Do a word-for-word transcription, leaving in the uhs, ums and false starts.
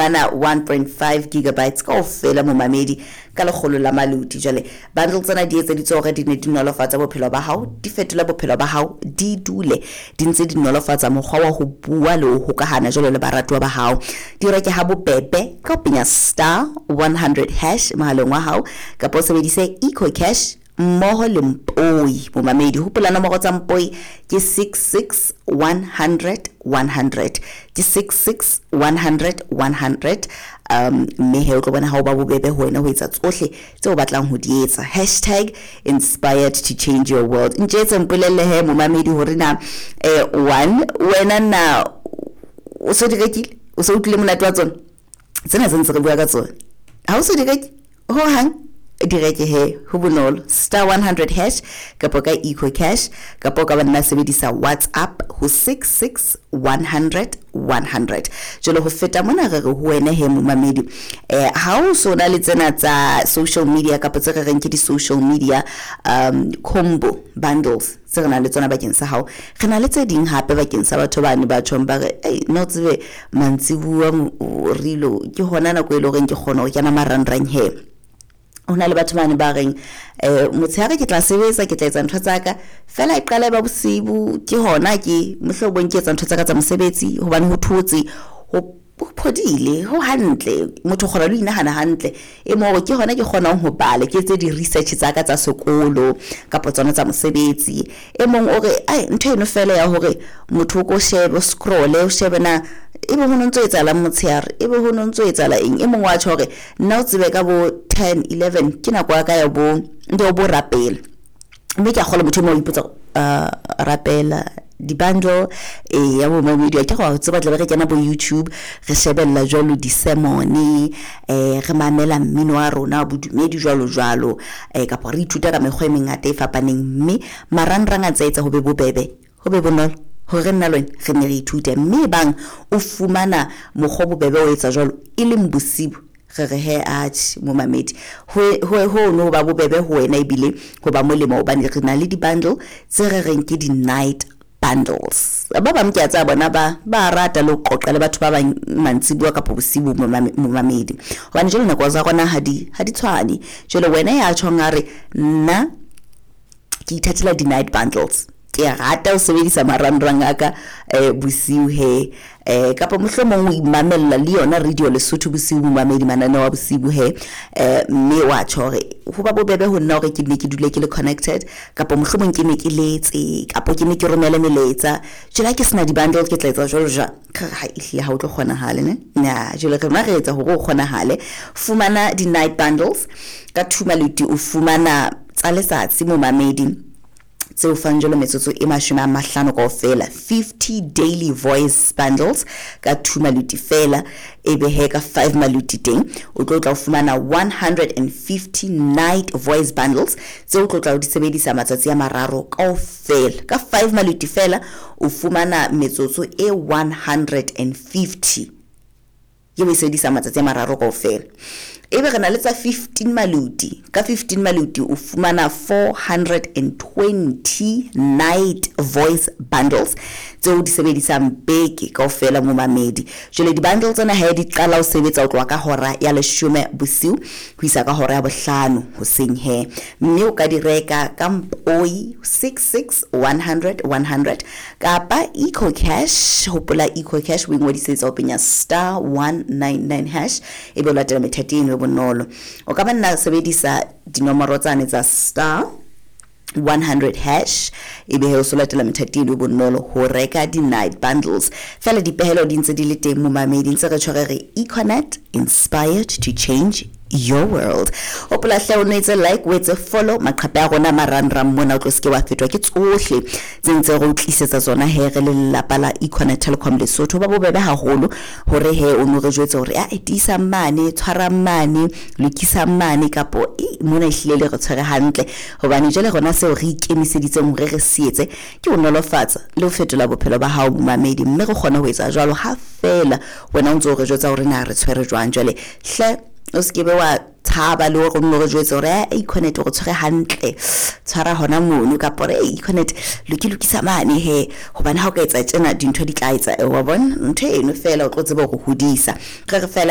Ana one point five gigabytes kaofela momamedi ka lekgolo la maluti. Jwale bundle tsena di etseditswe hore di ne di nolofatsa bophelo ba hao, di fetola bophelo ba hao, di dule di ntse di nolofatsa mokgwa wa ho bua le ho hokahana jwalo le baratuwa ba hao. Di reke ha bobebe ka ho penya star one hundred hash mohaleng wa hao kapa o sebedise Eco Cash mmoho le Mpoi. Momamedi, hopola nomoro tsa Mpoi ke six six one hundred one hundred, ke six six one hundred one hundred. Um mme he o tlo bona ha o ba bobebe ho wena ho etsa tsohle tseo o batlang ho di etsa. Hashtag inspired to change your world. Ntjetse mpolelle he momamedi hore na eh one wena na o so di rekile, o so utlwile monate wa tsona tsena tse ntse re bua ka tsona, ha o so di reke ho hang, di reke he, ho bonolo, star one hundred hash kapa ka Eco Cash kapa o ka ba nna sebedisa WhatsApp ho six six one hundred one hundred. Jwale ho feta mona re re ho wena he momamedi, eh ha o so na le tsena tsa social media kapa tse re reng ke di-social media um combo bundles tse re nang le tsona bakeng sa hao, re na le tse ding hape bakeng sa batho bane ba tjhong ba re ei no tsebe mantsibuwa rilo ke hona nako e le horeng ke kgona ho kena marangrang he. Ho na le batho bane ba reng eh motshehare ke tla sebetsa, ke tla etsa ntho tsa ka fela e qala e ba bosibu ke hona ke mohlomong ke etsa ntho tsa ka tsa mosebetsi hobane ho thotse, ho phodile, ho hantle, motho o kgona le ho inahana hantle, e mo hore ke hona ke kgonang ho bala, ke etse di-research tsa ka tsa sekolo kapa tsona tsa mosebetsi. E mong o re ai ntho eno fela ya hore motho o ko shebe, o scroll-e, o shebe na ebe ho no ntso etsahalang motshehare, ebe ho no ntso etsahala eng. E mong wa tjho hore nna o tsebe ka bo ten eleven ke nako ya ka ya bo ya bo rapela, mme ke a kgolwa motho e mong o ipotsa uh rapela di-bundle e ya bo mamedi ke go tseba tla be re kena bo YouTube re shebella jwalo di-sermon, eh re mamela mmino wa rona bodumedi jwalo jwalo, eh kapa re ithuta ka mekgwa e mengata e fapaneng, mme marangrang a tsa etsa ho be bobebe, ho be bonolo hore nna le wena re ne re ithute. Mme bang o fumana mokgwa bobebe o etsa jwalo e leng bosibu, re re he atjhe momamedi, ho ho no ba bobebe ho wena ebile ho ba molemo hobane re na le di-bundle tse re reng ke di-night bundles. Ba bang ke a tseba bona ba ba rata le ho qoqa le batho ba bang mantsibuya kapa bosibu momamedi, hobane jwale nako tsa rona ha di ha di tshwane. Jwale wena ya tjhong a re nna ke ithatela di-night bundles, ke rata ho sebedisa marangrang a ka eh bosiu he, eh kapa mohlomong o imamella le yona radio Lesotho bosiu momamedi, mananeo a bosiu he, eh mme wa tjho hore ho ba bobebe ho nna hore ke ne ke dule ke le connected, kapa mohlomong ke ne ke letse kapa ke ne ke romele melaetsa. Jwale ha ke sena di-bundle ke tla etsa jwalo jwang? Ha ehlile ha o tlo kgonahale ne nya. Jwale rona re etsa hore o kgonahale. Fumana di-night bundles ka two maluti, o fumana tsa letsatsi momamedi tseo fang jwalo metsotso e mashome a mahlano kaofela, fifty daily voice bundles ka two maluti fela, ebe he ka five maluti teng o tlo tla o fumana one hundred and fifty night voice bundles tseo o tlo tla o di sebedisa matsatsi a mararo kaofela. Ka five maluti fela o fumana metsotso e one hundred and fifty ye o e sebedisa matsatsi a mararo kaofela. Ebe re na le tsa fifteen maluti, ka fifteen maluti o fumana four hundred and twenty night voice bundles tseo di sebedisang beke kaofela momamedi. Jwale di-bundle tsena ha di qala ho sebetsa ho tloha ka hora ya leshome bosiu ho isa ka hora ya bohlano hoseng he, mme o ka di reka ka Mpoi six six one hundred one hundred kapa Eco Cash. Hopola Eco Cash o ingodisetsa ho penya star one nine nine hash ebe o latela methati eno e bonolo. O ka ba nna sebedisa dinomoro tsane tsa star one hundred hash ebe he o so latela methati eno e bonolo ho reka di-night bundles. Fela dipehelo di ntse di le teng momamedi, ntse re tshwere re Econet inspired to change your world. Hopola hle o etse like, o etse follow maqhephe a rona marangrang mona, o tlo seke wa fetwa ke tsohle tse ntse re o tlisetsa tsona he re le lelapa la Econet Telecom Lesotho. Ba bobebe haholo hore he o no re jwetse hore a tiisa mane, tshwara mane, lokisa mane kapo e mona ehlile le re tshwere hantle, hobane jwale rona seo re ikemiseditseng hore re se etse ke ho nolofatsa le ho fetola bophelo ba hao momamedi, mme re kgone ho etsa jwalo ha fela wena o ntso re jwetsa hore na re tshwere jwang. Jwale hle o se ke be wa tshaba le hore o nno re jwetse hore Econet o re tshwere hantle, tshwara hona mono, kapa hore Econet loki lokisa mane he, hobane ha o ka etsa tjena dintho di tla etsa, wa bona ntho eno fela o tlo tseba hore hodisa. Re re fela